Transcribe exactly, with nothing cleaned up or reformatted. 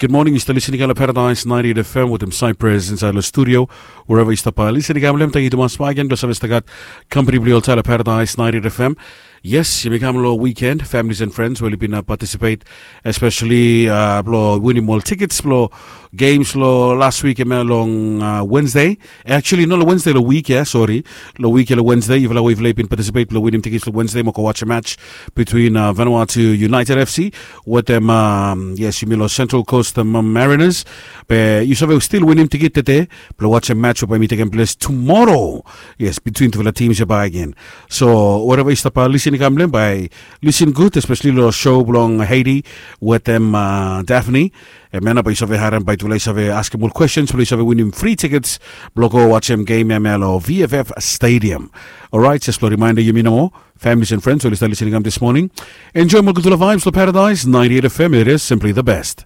Good morning, yu stap listening lo Paradise ninety-eight F M wetem Cypress inside lo studio. Wherever yu stap listening kam lem, thank you tumas bak again blo save stap gat company blo yu oltaem lo Paradise ninety-eight F M. Yes, yumi kam lo weekend, families and friends we oli bin uh, participate, especially uh, blo winim ol tickets blo games lo last week, em long uh, Wednesday. Actually, no, lo Wednesday lo week ya, sorry. Lo week ya lo Wednesday, yufala we yufala bin participate lo winim tickets lo Wednesday, mo go watch a match between uh, Vanuatu United F C wetem um, yes, yumi lo Central Coast um, Mariners. Be yu save still winim ticket tede blo watch a match we bae mi tekem ples tomorrow. Yes, between tufala teams ya bak again. So wherever yu stap uh, listening kam lem, bae listen good, especially lo show blong Haiti wetem uh, Daphne. Em ya nao bae yu save harem, bae tufala yu save askem ol questions blo yu save winim free tickets blo go watchem game ya lo V F F Stadium. Alright, jes blo reminder yumi nomo, families and friends we oli stap listening kam this morning, enjoem ol gudfala vibes lo Paradise ninety-eight F M. It is simply the best.